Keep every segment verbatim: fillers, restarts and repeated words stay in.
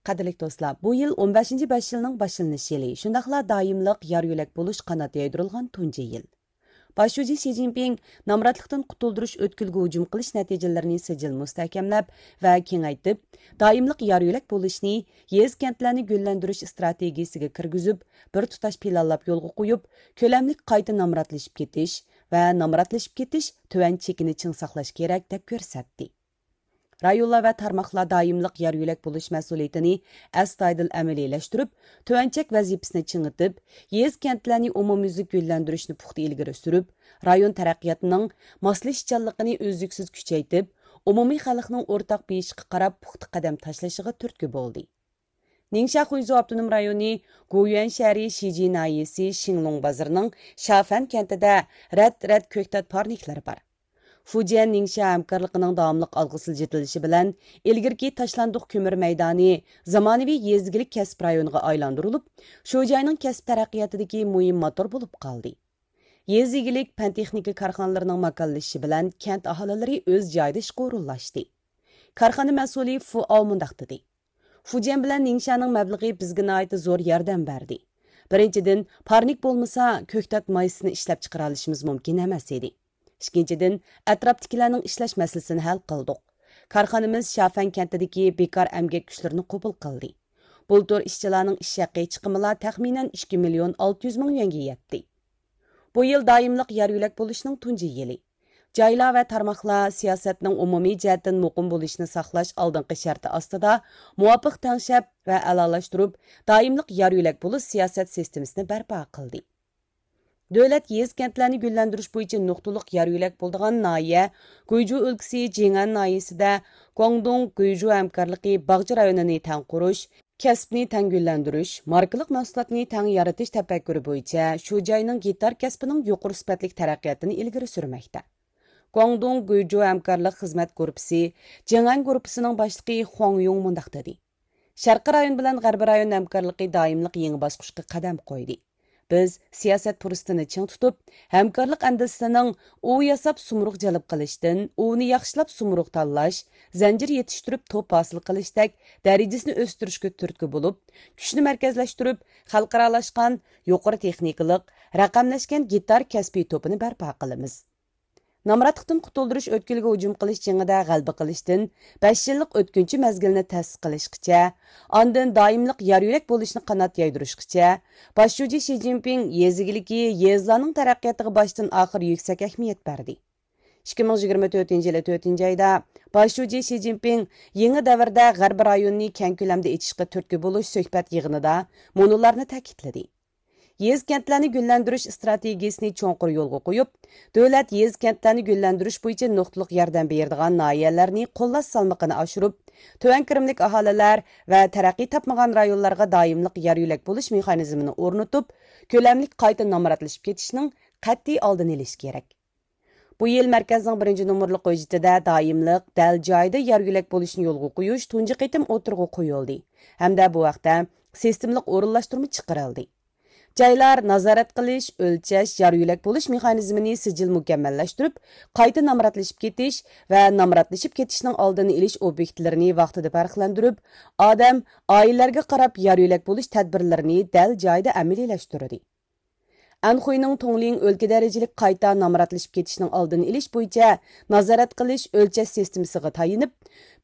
قەدىرلىك دوستلار، بۇ يىل ئون بەشىنچى بەش يىلنىڭ باشلىنىش يىلى، شۇنداقلا دائىملىق يار يۆلەك بولۇش قانات يايدۇرۇلغان تۇنجى يىل. باش شۇجى شى جىنپىڭ نامراتلىقتىن قۇتۇلدۇرۇش ئۆتكىلىگە ھۇجۇم قىلىش نەتىجىلىرىنى سىجىل مۇستەھكەملەپ ۋە كېڭەيتىپ، دائىملىق يار يۆلەك بولۇشنى يېزا كەنتلەرنى گۈللەندۈرۈش ئىستراتېگىيىسىگە كىرگۈزۈپ، بىر تۇتاش پىلانلاپ يولغا قويۇپ، كۆلەملىك قايتا نامراتلىشىپ كېتىش ۋە نامراتلىشىپ كېتىش تۆۋەن چېكىنى چىڭ ساقلاش كېرەك، دەپ كۆرسەتتى. رايونلار ۋە تارماقلار دائىملىق يار يۆلەك بولۇش مەسئۇلىيىتىنى ئەستايىدىل ئەمەلىيلەشتۈرۈپ، تۆۋەن چەك ۋەزىپىسىنى چىڭىتىپ، يېزا كەنتلەرنى ئومۇميۈزلۈك گۈللەندۈرۈشنى پۇختا ئىلگىرى سۈرۈپ، رايون تەرەققىياتىنىڭ ماسلىشىشچانلىقىنى ئۈزلۈكسىز كۈچەيتىپ، ئومۇمىي خەلقنىڭ ئورتاق بېيىشىغا قاراپ پۇختا قەدەم تاشلىشىغا تۈرتكە بولدى. نىڭشيا خۇيزۇ ئاپتونوم رايونى گويۈەن شەھىرى شىجى ناھىيەسى شىڭلۇڭ بازىرىنىڭ شافەن كەنتىدە رەت-رەت كۆكتات پارنىكلىرى بار. فۇجيەن نىڭشيا ھەمكارلىقىنىڭ داۋاملىق ئالغا سىلجىتىلىشى بىلەن، ئىلگىرىكى تاشلاندۇق كۆمۈر مەيدانى زامانىۋى يېزا ئىگىلىك كەسىپ رايونىغا ئايلاندۇرۇلۇپ، شۇ جاينىڭ كەسىپ تەرەققىياتىدىكى مۇھىم موتور بولۇپ قالدى. يېزا ئىگىلىك، پەن-تېخنىكا كارخانىلىرىنىڭ ماكانلىشىشى بىلەن كەنت ئاھالىلىرى ئۆز جايىدا ئىشقا ئورۇنلاشتى. كارخانا مەسئۇلى فۇ ئاۋ مۇنداق دېدى: فۇجيەن بىلەن نىڭشيانىڭ مەبلىغى بىزگە ناھايىتى زور ياردەم بەردى. بىرىنچىدىن، پارنىك بولمىسا، كۆكتات مايسىسىنى ئىشلەپچىقىرالىشىمىز مۇمكىن ئەمەس ئىدى. ئىككىنچىدىن، ئەتراپتىكىلەرنىڭ ئىشلەش مەسىلىسىنى ھەل قىلدۇق. كارخانىمىز شافەن كەنتىدىكى بىكار ئەمگەك كۈچلىرىنى قوبۇل قىلدى. بۇلتۇر ئىشچىلارنىڭ ئىش ھەققى چىقىمىلا تەخمىنەن ئىككى مىليون ئالتە يۈز مىڭ يۈەنگە يەتتى. بۇ يىل دائىملىق يار يۆلەك بولۇشنىڭ تۇنجى يىلى. جايلار ۋە تارماقلار سىياسەتنىڭ ئومۇمىي جەھەتتىن مۇقىم بولۇشىنى ساقلاش ئالدىنقى شەرتى ئاستىدا، مۇۋاپىق تەڭشەپ ۋە ئەلالاشتۇرۇپ، دائىملىق يار يۆلەك بولۇش سىياسەت سىستېمىسىنى بەرپا قىلدى. دۆلەت يېزا كەنتلەرنى گۈللەندۈرۈش بويىچە نۇقتىلىق يار يۆلەك بولىدىغان ناھىيە، گۇيجۇ ئۆلكىسى جىڭئەن ناھىيەسىدە گۇاڭدۇڭ گۇيجۇ ھەمكارلىقى باغچە رايونىنى تەڭ قۇرۇش، كەسىپنى تەڭ گۈللەندۈرۈش، ماركىلىق مەھسۇلاتنى تەڭ يارىتىش تەپەككۇرى بويىچە شۇ جاينىڭ گىتار كەسپىنىڭ يۇقىرى سۈپەتلىك تەرەققىياتىنى ئىلگىرى سۈرمەكتە. گۇاڭدۇڭ گۇيجۇ ھەمكارلىق خىزمەت گۇرۇپپىسى جىڭئەن گۇرۇپپىسىنىڭ باشلىقى خۇاڭ يۇڭ مۇنداق دېدى: شەرقىي رايون بىلەن غەربىي رايون ھەمكارلىقى دائىملىق يېڭى باسقۇچقا قەدەم قويدى. بىز سىياسەت پۇرسىتىنى چىڭ تۇتۇپ، ھەمكارلىق ئەندىزىسىنىڭ ئۇۋا ياساپ سۇمۇرغا جەلپ قىلىشتىن، ئۇۋىنى ياخشىلاپ سۇمۇرغا تاللاش، زەنجىر يېتىشتۈرۈپ توپ ھاسىل قىلىشتەك دەرىجىسىنى ئۆستۈرۈشكە تۈرتكە بولۇپ، كۈچنى مەركەزلەشتۈرۈپ، خەلقئارالاشقان، يۇقىرى تېخنىكىلىق، رەقەملەشكەن گىتار كەسپىي توپىنى بەرپا قىلىمىز. نامراتلىقتىن قۇتۇلدۇرۇش ئۆتكىلىگە ھۇجۇم قىلىش جېڭىدە غەلىبە قىلىشتىن، بەش يىللىق ئۆتكۈنچى مەزگىلنى تەسىس قىلىشقىچە، ئاندىن دائىملىق يار يۆلەك بولۇشنى قانات يايدۇرۇشقىچە، باش شۇجى شى جىنپىڭ يېزا ئىگىلىكى، يېزىلارنىڭ تەرەققىياتىغا باشتىن ئاخىر يۈكسەك ئەھمىيەت بەردى. ئىككى مىڭ يىگىرمە تۆتىنچى يىلى تۆتىنچى ئايدا باش شۇجى شى جىنپىڭ يېڭى دەۋردە غەربىي رايوننى كەڭ كۆلەمدە ئېچىشقا تۈرتكە بولۇش سۆھبەت يىغىنىدا مۇنۇلارنى تەكىتلىدى: يېزا كەنتلەرنى گۈللەندۈرۈش ئىستراتېگىيىسىنى چوڭقۇر يولغا قويۇپ، دۆلەت يېزا كەنتلەرنى گۈللەندۈرۈش بويىچە نۇقتىلىق ياردەم بېرىدىغان ناھىيەلەرنى قوللاش سالمىقىنى ئاشۇرۇپ، تۆۋەن كىرىملىك ئاھالىلەر ۋە تەرەققىي تاپمىغان رايونلارغا دائىملىق يار يۆلەك بولۇش مېخانىزمىنى ئورنىتىپ، كۆلەملىك قايتا نامراتلىشىپ كېتىشنىڭ قەتئىي ئالدىنى ئېلىش كېرەك. بۇ يىل مەركەزنىڭ بىرىنچى نومۇرلۇق ھۆججىتىدە دائىملىق، دەل جايىدا يار يۆلەك بولۇشنى يولغا قويۇش تۇنجى قېتىم ئوتتۇرىغا قويۇلدى ھەمدە بۇ ھەقتە سىستېمىلىق ئورۇنلاشتۇرما چىقىرىلدى. جايلار نازارەت قىلىش، ئۆلچەش، يار يۆلەك بولۇش مېخانىزمىنى سىجىل مۇكەممەللەشتۈرۈپ، قايتا نامراتلىشىپ كېتىش ۋە نامراتلىشىپ كېتىشنىڭ ئالدىنى ئېلىش ئوبيېكتلىرىنى ۋاقتىدا پەرقلەندۈرۈپ، ئادەم، ئائىلىلەرگە قاراپ يار يۆلەك بولۇش تەدبىرلىرىنى دەل جايىدا ئەمەلىيلەشتۈردى. ئەنخۇينىڭ تۇڭلىڭ ئۆلكە دەرىجىلىك قايتا نامراتلىشىپ كېتىشنىڭ ئالدىنى ئېلىش بويىچە نازارەت قىلىش، ئۆلچەش سىستېمىسىغا تايىنىپ،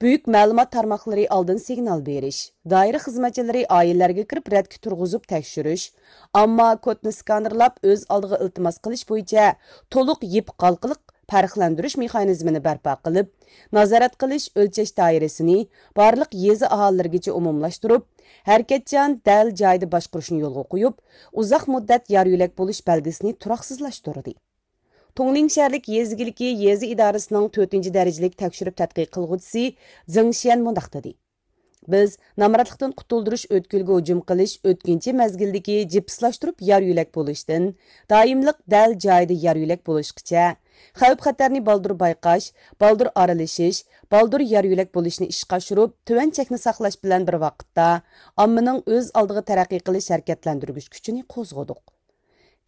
بۈيۈك مەلۇمات تارماقلىرى ئالدىن سىگنال بېرىش، دائىرە خىزمەتچىلىرى ئائىلىلەرگە كىرىپ رەتكە تۇرغۇزۇپ تەكشۈرۈش، ئامما كودنى سكانېرلاپ ئۆز ئالدىغا ئىلتىماس قىلىش بويىچە تولۇق يىپ ھالقىلىق پەرقلەندۈرۈش مېخانىزمىنى بەرپا قىلىپ، نازارەت قىلىش، ئۆلچەش دائىرىسىنى بارلىق يېزا ئاھالىلىرىگىچە ئومۇملاشتۇرۇپ، ھەرىكەتچان، دەل جايىدا باشقۇرۇشنى يولغا قويۇپ، ئۇزاق مۇددەت يار يۆلەك بولۇش بەلگىسىنى تۇراقسىزلاشتۇردى. تۇڭلىڭ شەھەرلىك يېزا ئىگىلىكى يېزا ئىدارىسىنىڭ تۆتىنچى دەرىجىلىك تەكشۈرۈپ تەتقىق قىلغۇچىسى زېڭ شيەن مۇنداق دېدى: بىز نامراتلىقتىن قۇتۇلدۇرۇش ئۆتكىلىگە ھۇجۇم قىلىش ئۆتكۈنچى مەزگىلدىكى جىپسلاشتۇرۇپ يار يۆلەك بولۇشتىن، دائىملىق دەل جايىدا يار يۆلەك بولۇشقىچە، خەۋپ خەتەرنى بالدۇر بايقاش، بالدۇر ئارىلىشىش، بالدۇر يار يۆلەك بولۇشنى ئىشقا ئاشۇرۇپ، تۆۋەن چەكنى ساقلاش بىلەن بىر ۋاقىتتا، ئاممىنىڭ ئۆز ئالدىغا تەرەققىي قىلىش ھەرىكەتلەندۈرگۈچ كۈچىنى قوزغىدۇق.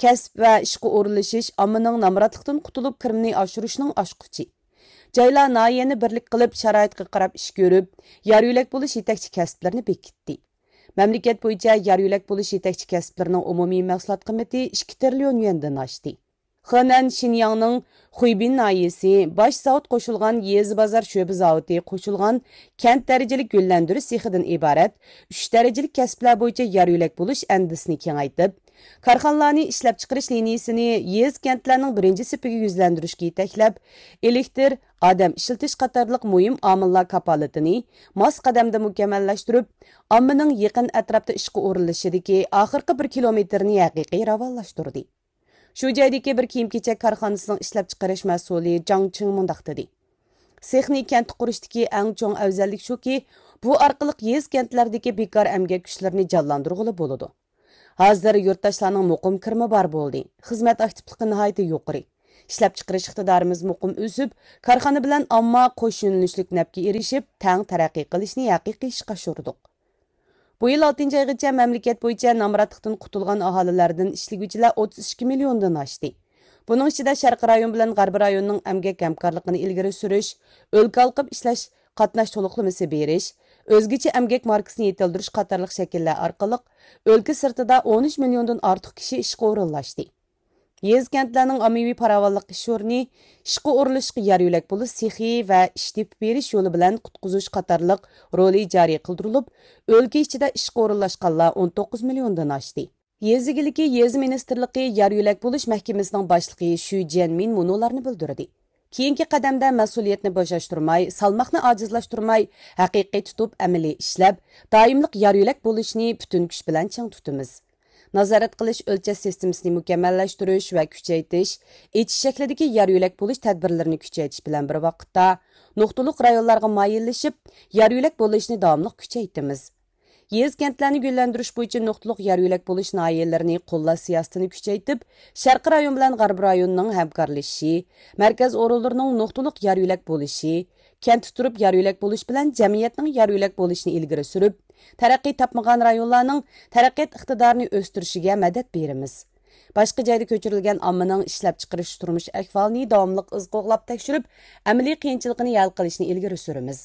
كەسىپ ۋە ئىشقا ئورۇنلىشىش ئاممىنىڭ نامراتلىقتىن قۇتۇلۇپ، كىرىمىنى ئاشۇرۇشنىڭ ئاچقۇچى. جايلار ناھىيەنى بىرلىك قىلىپ، شارائىتقا قاراپ ئىش كۆرۈپ، يار يۆلەك بولۇش يېتەكچى كەسىپلىرىنى بېكىتتى. مەملىكەت بويىچە يار يۆلەك بولۇش يېتەكچى كەسىپلىرىنىڭ ئومۇمىي مەھسۇلات قىممىتى ئىككى تىرىليون يۈەندىن ئاشتى. خېنەن شىنياڭنىڭ خۇيبىن ناھىيەسى باش زاۋۇت قوشۇلغان يېزا بازار شۆبە زاۋۇتى قوشۇلغان كەنت دەرىجىلىك گۈللەندۈرۈش سېخىدىن ئىبارەت ئۈچ دەرىجىلىك كەسىپلەر بويىچە يار يۆلەك بولۇش ئەندىزىسىنى كېڭەيتىپ، كارخانىلارنى ئىشلەپچىقىرىش لىنىيىسىنى يېزا، كەنتلەرنىڭ بىرىنچى سېپىگە يۈزلەندۈرۈشكە يېتەكلەپ، ئېلېكتىر، ئادەم ئىشلىتىش قاتارلىق مۇھىم ئامىللار كاپالىتىنى ماس قەدەمدە مۇكەممەللەشتۈرۈپ، ئاممىنىڭ يېقىن ئەتراپتا ئىشقا ئورۇنلىشىشىدىكى ئاخىرقى بىر كىلومېتىرنى ھەقىقىي راۋانلاشتۇردى. شۇ جايدىكى بىر كىيىم-كېچەك كارخانىسىنىڭ ئىشلەپچىقىرىش مەسئۇلى جاڭ چىڭ مۇنداق دېدى: سېخنى كەنتتە قۇرۇشتىكى ئەڭ چوڭ ئەۋزەللىك شۇكى، بۇ ئارقىلىق يېزا، كەنتلەردىكى بىكار ئەمگەك كۈچلىرىنى جانلاندۇرغىلى بولىدۇ. ھازىر يۇرتداشلارنىڭ مۇقىم كىرىمى بار بولدى. خىزمەت ئاكتىپلىقى ناھايىتى يۇقىرى. ئىشلەپچىقىرىش ئىقتىدارىمىز مۇقىم ئۆسۈپ، كارخانا بىلەن ئامما قوش يۆنىلىشلىك نەپكە ئېرىشىپ، تەڭ تەرەققىي قىلىشنى ھەقىقىي ئىشقا ئاشۇردۇق. بۇ يىل ئالتىنچى ئايغىچە مەملىكەت بويىچە نامراتلىقتىن قۇتۇلغان ئاھالىلەردىن ئىشلىگۈچىلەر ئوتتۇز ئىككى مىليوندىن ئاشتى. بۇنىڭ ئىچىدە شەرقىي رايون بىلەن غەربىي رايوننىڭ ئەمگەك ھەمكارلىقىنى ئىلگىرى سۈرۈش، ئۆلكە ھالقىپ ئىشلەش قاتناش تولۇقلىمىسى بېرىش، ئۆزگىچە ئەمگەك ماركىسىنى يېتىلدۈرۈش قاتارلىق شەكىللەر ئارقىلىق ئۆلكە سىرتىدا ئون ئۈچ مىليوندىن ئارتۇق كىشى ئىشقا ئورۇنلاشتى. يېزا، كەنتلەرنىڭ ئاممىۋى پاراۋانلىق ئىش ئورنى، ئىشقا ئورۇنلىشىشقا يار يۆلەك بولۇش سېخى ۋە ئىش تېپىپ بېرىش يولى بىلەن قۇتقۇزۇش قاتارلىق رولى جارى قىلدۇرۇلۇپ، ئۆلكە ئىچىدە ئىشقا ئورۇنلاشقانلار ئون توققۇز مىليوندىن ئاشتى. يېزا ئىگىلىكى، يېزا مىنىستىرلىقى يار يۆلەك بولۇش مەھكىمىسىنىڭ باشلىقى شۈ جيەنمىن مۇنۇلارنى بىلدۈردى: كېيىنكى قەدەمدە مەسئۇلىيەتنى بوشاشتۇرماي، سالماقنى ئاجىزلاشتۇرماي، ھەقىقىي تۇتۇپ ئەمەلىي ئىشلەپ، دائىملىق يار يۆلەك بولۇشنى پۈتۈن كۈچ بىلەن چىڭ تۇتىمىز. نازارەت قىلىش، ئۆلچەش سىستېمىسىنى مۇكەممەللەشتۈرۈش ۋە كۈچەيتىش، ئېچىش شەكلىدىكى يار يۆلەك بولۇش تەدبىرلىرىنى كۈچەيتىش بىلەن بىر ۋاقىتتا، نۇقتىلىق رايونلارغا مايىللىشىپ، يار يۆلەك بولۇشنى داۋاملىق كۈچەيتىمىز. يېزا، كەنتلەرنى گۈللەندۈرۈش بويىچە نۇقتىلىق يار يۆلەك بولۇش ناھىيەلىرىنى قوللاش سىياسىتىنى كۈچەيتىپ، شەرقىي رايون بىلەن غەربىي رايوننىڭ ھەمكارلىشىشى، مەركەز ئورۇنلىرىنىڭ نۇقتىلىق يار يۆلەك بولۇشى، كەنتتە تۇرۇپ يار يۆلەك بولۇش بىلەن جەمئىيەتنىڭ يار يۆلەك بولۇشىنى ئىلگىرى سۈرۈپ، تەرەققىي تاپمىغان رايونلارنىڭ تەرەققىيات ئىقتىدارىنى ئۆستۈرۈشىگە مەدەت بېرىمىز. باشقا جايدا كۆچۈرۈلگەن ئاممىنىڭ ئىشلەپچىقىرىش تۇرمۇش ئەھۋالىنى داۋاملىق ئىز قوغلاپ تەكشۈرۈپ، ئەمەلىي قىيىنچىلىقىنى ھەل قىلىشنى ئىلگىرى سۈرىمىز.